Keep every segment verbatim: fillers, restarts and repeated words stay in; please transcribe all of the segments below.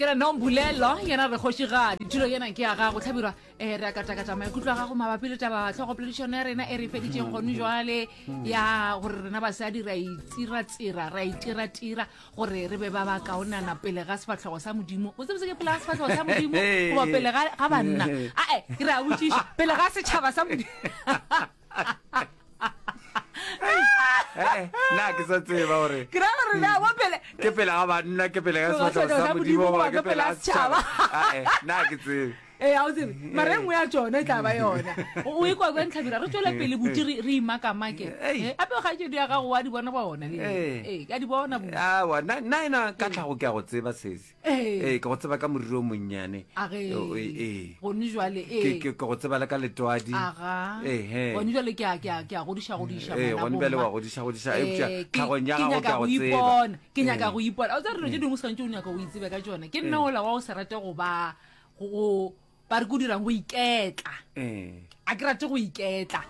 Ke re Nombulelo yena re kgošigadi tulo yena ke ya gago tlhabirwa um re a katakata maikutlo a gago mabapi le taba tlhogopoledišano ya rena e re feditšeng gone jwale ya gore rena basadi ra itiratsira ra itiratira gore re be ba ba kaonana pele ga sefatlhego sa modimo o tsebose ke pele ga sefatlhego sa modimo goba pele ga ga banna ae ke re a botšiša pele ga setšhaba sa modimo Eh, nna ke sa tseba gore ke ra gore na mo pele ke pele ga banna ke pele ga Pele ga sefatlhego sefahlego sa sa modimo Modimo goba goba ke ke pele pele ga ga setšhaba setšhaba. Ae, nna ke tsebe ee a o tsebe mara e nngwe ya tsone e tla ba yona o o ikwa kang tlhabira re tswele pele buti re re imakamake Ei. Eh, ape kgaetšedi ya gago wa di bona bona le Ee. ee ka di bona buti awa nna nna ena ka tlhago ke a go tseba sese Ee. ee ke go tseba ka moriri o monnyane age O- ee gone jwale ke ee ke ke go tseba le ka letwadi aga Ehe. gone jwale ke a ke a ke a godiša godiša ee ngwana gone bjale bomma. wa godiša godiša Eh, eupša ke- tlhagong ya ke gago ke nyaka a go go tseba ipona ke nyaka Ee. go ipona o tsare dilo tse dingwe o swanetše o nyaka go itsebe ka tsone ke nna ola wa o se rate go ba go ba re ko dirang go iketla ee a ke rate go iketla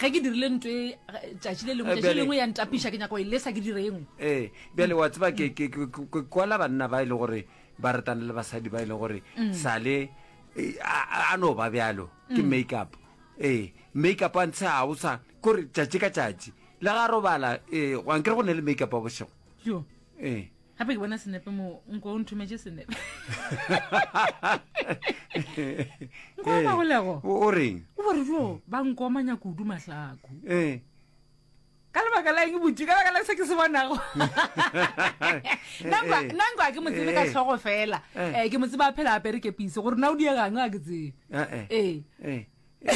ge ke dirile ntho e tšatši le lengwe Eh, tšatši le bjale- lengwe ya ntapiša ke nyaka go e lesa ke dire e nngwe ee bjale wa tseba ke ke- ke ke- ke kwala banna ba e le gore ba ratana le basadi ba e le gore sale eh, a a no ba bjalo ke make up ee make up a ntshe ga o sa kore tšatši ka tšatši le ga robala ee ankere go ne le make up a bošego jo ee gape ke bona senepe mo nko o nthometše senepe nko Ee. magolego o o reng o bore jo ba nkomanya kudu mahlaku ee ka lebaka la eng botse ka lebaka la se ke se bonago nna nko a ke mo tsebe ka Eh. tlhogo fela Eh. um ke mo tsebe a phela apere kepise gore na o diegang a ke tsebe Eh, eh. ee Ee. Ee,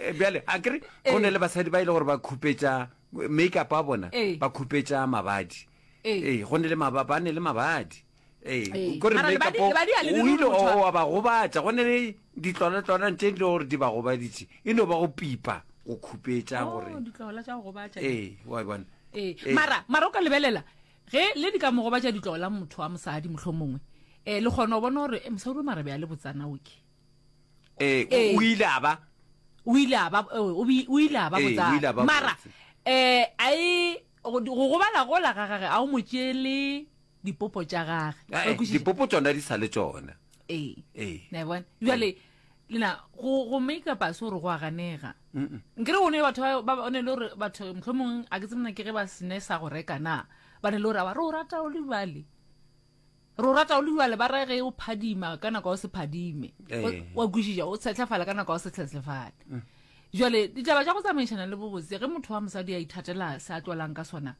ee, bjale a kere go ne le basadi ba e le gore ba khupetša make up a bona Ee. ba khupetša mabadi Ee. ee go ne le maba ba ne le mabadi Ee. ee kore Mara make up lebadi- lebadi ha le o dire ile gore motho a- wa ba gobatša go ne le ditlwalatlwalang tše di le gore di ba gobaditše e no ba go pipa go khupetša Oh, gore ditlola tša go gobatša ee wa e bona ee Ee. mara mara o ka lebelela ge le di ka mo gobatša ditlola motho wa mosadi motlho mongwe um le kgona go bona gore eh, mosadi o marabe a le botsana oke ee Ee. o ile a ba o ile a ba eh, o bi- o ile a ba Ee, o ile botsana a ba mara botse. um a e go go gobala gola ga gage a o mo tšeele dipopo tša gage Eh, Wa kwešiša? dipopo tsona di sa le tsona ee ee na e bona jale lena go go make up a se gore go a ganega nkere go ne batho ba- ba ba- o ne le gore batho mohlomongwe a ke tsebona ke ge ba sene sa go reka na ba ne le gore aba re o rata o le bjale re o rata o le bjale ba re ge o phadima ka nako ya o se phadime Ee. O- wa kwešiša o tshetlafala ka nako ya o se tshetlafale jale ditaba tša go tsamaišana le bobotse ge motho wa mosadi a ithatela se a tlolang ka sona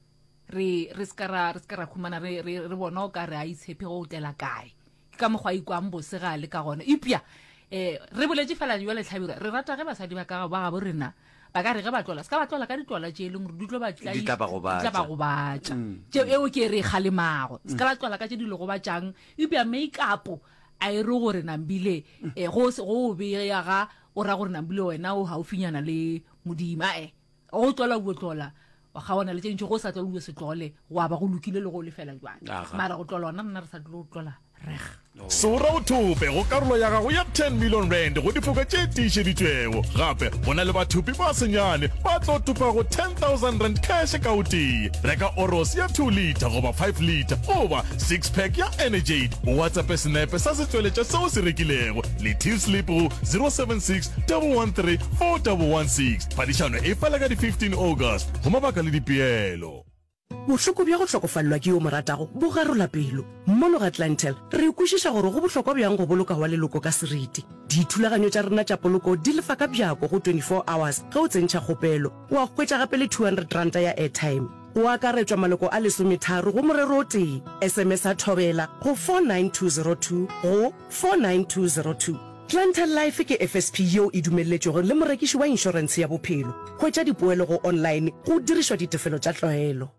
re re ska ra re ska ra khumana re re re bona o ka re a itshepe go o tlela kae ke ka mokgwa a ikwang bose ga a le ka gona epša um re boletse fela jwa letlhabirwa re rata ge basadi ba ka ba gabo rena ba ka re ge ba tlola se ka ba tlola ka ditlola tše e leng gore di tlo ba Di tla ba gobatša. di tla ba gobatša tšeo eo ke e re e kgalemago se ka la tlola ka tše di le gobatšang eupša make up a e re gore nambile um go se- go o beya ga o ra gore nambile wena o gaufinyana le modimo ae go tlola o tlola wa kgaona le tše dintši go sa tlole o se tlole go a ba go lokile le go lefela jwale Aga. mara go tlola ona nna re sa tlo tlola reg Sora o thope go karolo ya gago ya ten million rand go difoka tše tiišeditšwego. Gape go na le bathopi ba senyane ba tlo topago ten thousand rand cash ka o tee. Reka Oros ya two litre goba five litre goba six pack ya Energade. O WhatsAppe senepe sa setšweletša seo se rekilego le till slip go zero seven six double one three four double one six. Phadišano e fela ka di fifteen August go mabaka le dipeelo. Bohloko bja go hlokofalelwa ke yo mo ratago bo garola pelo. Mono ga Clientele re kwešiša gore go bohlokwa bjang go boloka wa leloko ka seriti. Dithulaganyo tša rena tša poloko di lefa ka bjako go twenty-four hours ge o tsentšha kgopelo. Wa hwetša gape le two hundred ranta ya airtime. Go akaretšwa maloko a lesometharo go morero o tee. S M S a thobela go four nine two zero two go four nine two zero two. Clientele Life ke F S P yeo e dumelletšwego le morekiši wa inšorentshe ya bophelo. Hwetša dipoelo go online go dirišwa ditefelo tša tlwaelo.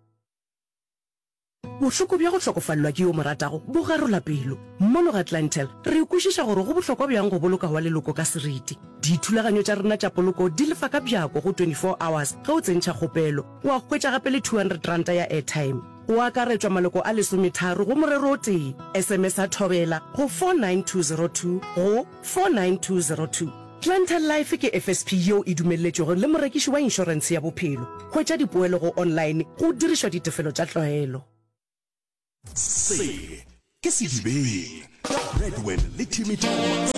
Bohloko bja go hlokofalelwa ke yo mo ratago bo garola pelo. Mono ga Clientele re kwešiša gore go bohlokwa bjang go boloka wa leloko ka seriti. Dithulaganyo tša rena tša poloko di lefa ka bjako go twenty-four hours ge o tsentšha kgopelo. Wa hwetša gape le two hundred ranta ya airtime. Go akaretšwa maloko a lesometharo go morero o tee. S M S a thobela go four nine two zero two go four nine two zero two. Clientele Life ke F S P yeo e dumelletšwego le morekiši wa inšorentshe ya bophelo. Hwetša dipoelo go online go dirišwa ditefelo tša tlwaelo. Se Ke Sedibeng ka Bradwin le Timmy Thomas.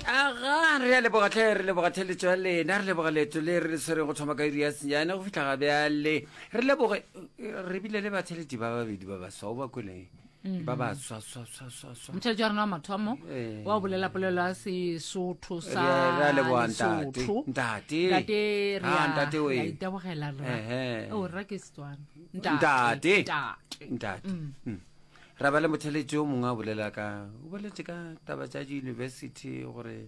Aga, re a leboga tlhe, re leboga theletšo ya lena, re leboga leeto le re le swereng go thoma ka iri ya senyane go fihla ga bjale. Re leboge, re bile le batheletši ba babedi ba baswa, o ba kwele ba ba swa swa swa swa swa. Motheletši wa rena wa mathomo Eh. wa bolela polelo ya Sesotho sa Re a- re a leboga ntate. Lesotho. Ntate. Ntate re Ah, a- ntate we. re a itabogela rra. Ehe. Oh, rra ke Setswana. Ntate. Ntate. Ntate. Mm. Ra ba le motheletši yo mongwe a bolela ka, o boletše ka taba tša di-university gore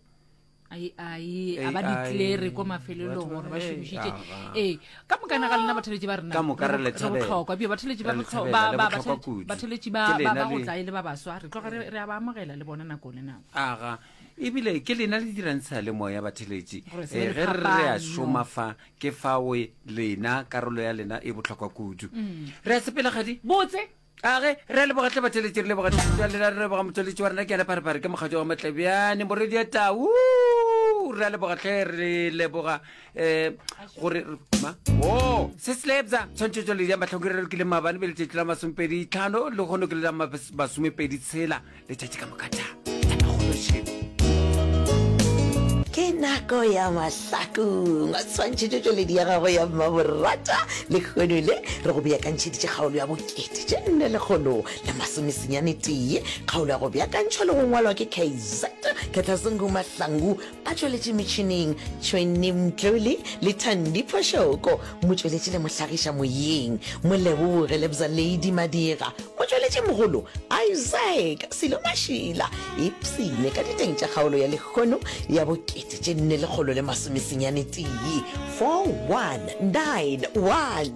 Ai, ai, a ba A I, declare ko mafelelong batho ba- gore ba eh, šomišitše. aga. Ee, ka mokana ga lena batheletši ba rena, Ka moka re re le re thabela. bohlokwa. Ebile batheletši ba Re le bohlo- thabela, ba- le ba- bohlokwa batheletši- kudu. batheletši ba- Ke ba- lena ba go le- tla e le ba baswa, re tloga re re a ba amogela le bona nako le nako. Aga, ebile ke lena le dirang seyalemoya batheletši. Gore se be Eh, le ge re re a phapano. šoma fa, ke fao lena karolo ya lena e bohlokwa kudu. Re a sepela kgadi? Botse. Age, re a leboga tle batheletši, re leboga theletšo ya lena, re leboga motsweletši wa rena ke yena Pharephare, ke mokgatšo wa Matlebjane, morwedi ya Tau. Re a leboga tle, re leboga, eh, gore re, ma, oh, se se lebza, tshwantšhetšo le ya mahloko re lokile maabane be letšatši la masomepedi tlhano, le kgono ke le la masomepedi tshela, letšatši ka moka tha, tabakgolo šeo. Ke nako ya mahlakong a tshwantšhetšo tšweledi ya gago ya mmaborata. Lekgono le re go beakantšheditše kgaolo ya bokete tše nne lekgolo le masomesenyane tee. Kgaolo ya go beakantšhwa le go ngwalwa ke K Z Ketlasengu Mahlangu, a tšweletše metšhineng Tšhweni Mtlole le Thandi Phošoko, motšweletši le mohlagiša moyeng Moleboge Lebza Lady Madira, motšweletši mogolo Isaac Silo Mašila. Ipsene ka diteng tša kgaolo ya lekgono ya bokete tše nne lekgolo le masomesenyane tee, four one nine one.